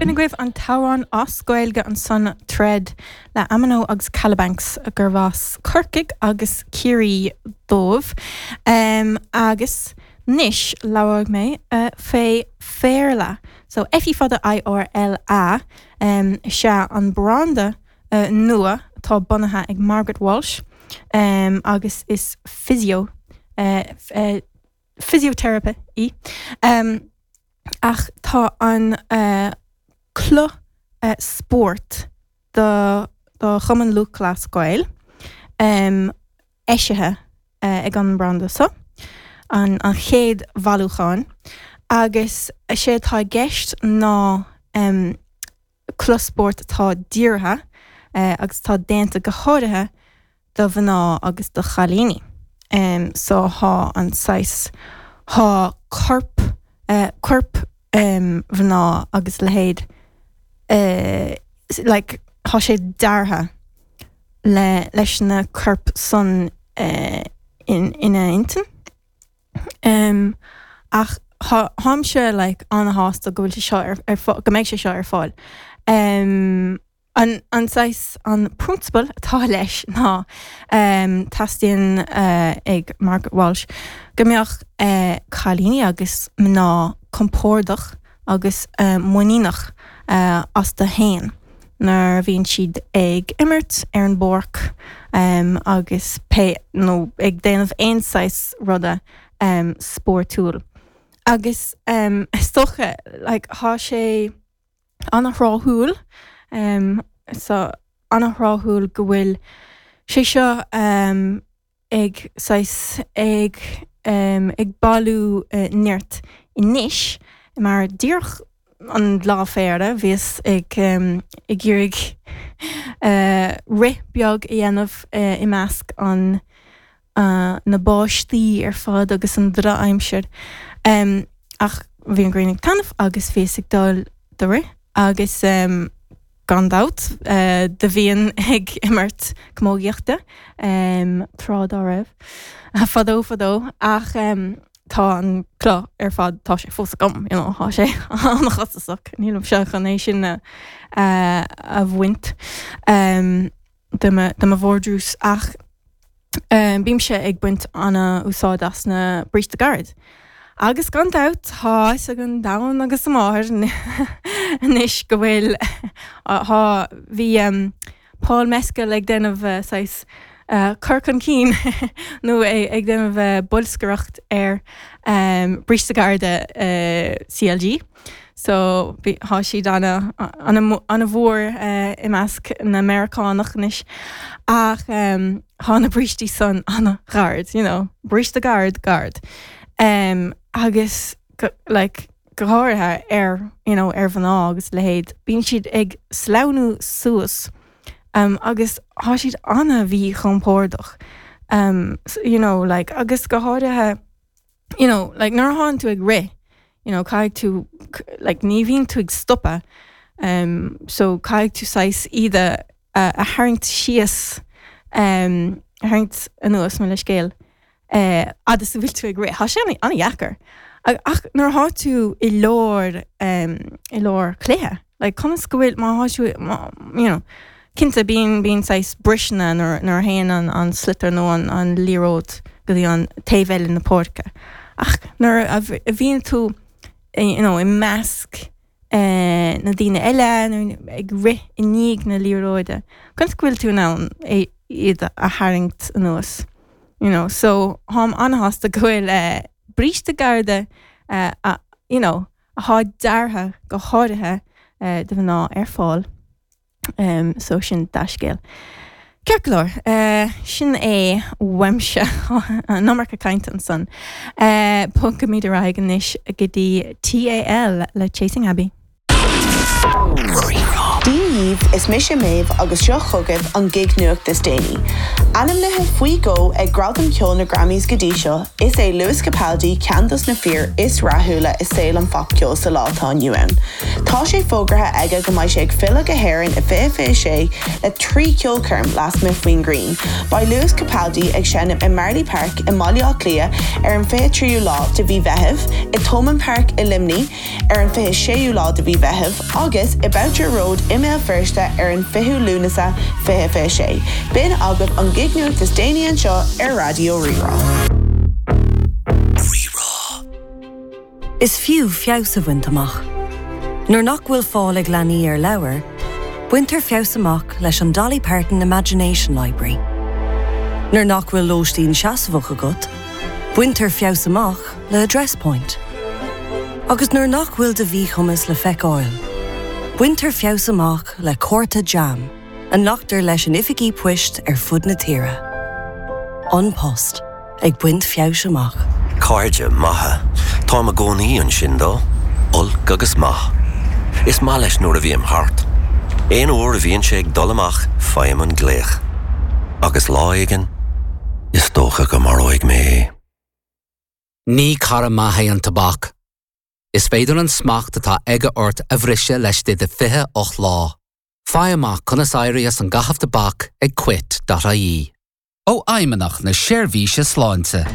B'in agaibh an t-amhrán as Gaeilge ansan Thread le Amino agus Kalabanx gurb as Corcaigh agus Ciarraí dóibh. Agus anois labhróidh mé fé Féarla. So F fada I R L A is ea an branda nua atá bunaithe ag Margaret Walsh agus is physio physiotherapist í. Ach tá an cloch spóirt do Chumann Lúthchleas Gael eisithe ag an mbranda seo, an chéad bhailiúchán, agus is é atá i gceist ná cloch spóirt atá dírithe agus atá déanta go háirithe do mhná agus do chailíní. So thá an saghas, thá corp, coirp mhná agus a leithéid like thá sé deartha le, leis na coirp san ina intinn. Ach tháimse like ana-shásta go bhfuil sé seo ar ar go mbeidh sé seo ar fáil. An an saghas an prionsabal atá leis ná teastaíonn ag Margaret Walsh go mbeadh cailíní agus mná compordach agus muiníneach astu fhéin nuair a bhíonn siad ag imirt ar an bpáirc agus pé nó ag déanamh aon saghas ruda spórtúil. Agus is dócha like thá sé ana-thráthúil so ana-thráthúil go bhfuil sé seo ag saghas ag ag bailiú nirt anois mar díreach an Lá Féarla bhíos ag ag iarraidh rith beag a dhéanamh i measc an na báistí ar fad agus an drochaimsir ach bhí an ghrian ag taitneamh agus bhíos ag dul do rith agus Gan dabht, do bhínn ag imirt camógaíochta tráth dá raibh, fadó fadó, ach tá an cloch ar fad, tá sé fós agam, you know, tá sé an-chostasach, nílimse chun é sin a bhaint de mo vardrús ach bímse ag baint ana-úsáid as na bríste gairid. Agus gan dabht tá fhios ag an domhan agus a máthair anois go bhfuil, thá, bhí Paul Mescal ag déanamh saghas cur chun cinn nó ag déanamh bolscaireacht ar bríste gairide CLG. So bhí, thá siad ana, ana, ana mhór i measc na Meiriceánach anois ach thá na brístí san ana ghairid, you know, bríste gairid, gairid. Agus go, like, go háirithe ar, you know, ar mhná agus a leithéid, bíonn siad ag sleamhnú suas agus thá siad ana mhíchompordach, you know, like, agus go háirithe, you know, like nuair a thánn tú ag rith, you know, caithfidh tú, like ní bhíonn tú ag stopadh, um, so caithfidh tú saghas iad a, a tharraingt síos, um, a tharraingt anuas, mo leithscéal, eh, fhad is a bhfuil tú ag rith. Tá sé an-dheacair. Ach nuair atá tú i lár, um, i lár cluiche, Like, conas go bhfuil, má thá tú, má, you know, cinnte bíonn, bíonn saghas briseanna nuair, nuair a théann an, an sliotar nó an, an liathróid go dtí an taobh eile na páirce. Ach nuair a, a bhíonn tú, you know, i measc eh, na daoine eile nó ag rith i ndiaidh na liathróide, conas go bhfuil tú in ann é, iad a tharraingt anuas? You know, so tháim an-shásta go bhfuil eh, bríste gairide eh, a, you know, athá deartha go háirithe do mhná ar fáil. So sin dea-scéal. Ceart go leor, sin é uaimse. An iomarca cainte ansan. Bogfaimid ar aghaidh anois go dtí TAL le Chasing Abbey. Dia dhíbh, is mise Méabh agus seo chugaibh an gig nuacht is déanaí. Ainmnithe faoi dhó ag Gradaim Cheoil na Grammys go dtí seo, is é Lewis Capaldi ceann dos na fir is rathúla i saol an phopcheoil sa lá atá inniu ann. Tá sé fógartha aige go mbeidh sé ag filleadh go hÉirinn i 2026 le 3 cheolchoirm lasmuigh faoin ghrian. Beidh Lewis Capaldi ag seinm i Marlay Park i mBaile Átha Cliath ar an 23ú lá de mhí Mheithimh, i Thomond Park i Luimnigh ar an 26ú lá de mhí Mheithimh agus i Boucher Road i mBéal Feirste ar an 20ú Lúnasa 2026. B'in agaibh an gig-nuacht is déanaí anseo ar Raidió Rí-Rá. Rí-Rá. Is fiú feabhas a bhaint amach. Nuair nach bhfuil fáil ag leanaí ar leabhair, baintear feabhas amach leis an Dolly Parton Imagination Library. Nuair nach bhfuil lóistín seasmhach agat, baintear feabhas amach le Address Point. Agus nuair nach bhfuil do mhíchumas le feiceáil, baintear feabhas amach le cárta JAM a nglactar leis in oifigí poist ar fud na tíre. An Post. Ag baint feabhais amach. Cairde maithe. Táim i gcónaí ansin dó, olc agus maith. Is maith leis nuair a bhím thart. Aon uair a bhíonn sé ag dul amach faighim an glaoch. Agus lá éigin, is dócha go maróidh mé é. Ní cara maith é an tobac. Is féidir an smacht atá aige ort a bhriseadh laistigh de 28 lá. Faigh amach conas éirí as an gcaitheamh tobac ag quit.ie. Ó Fheidhmeannacht na Seirbhíse Sláinte.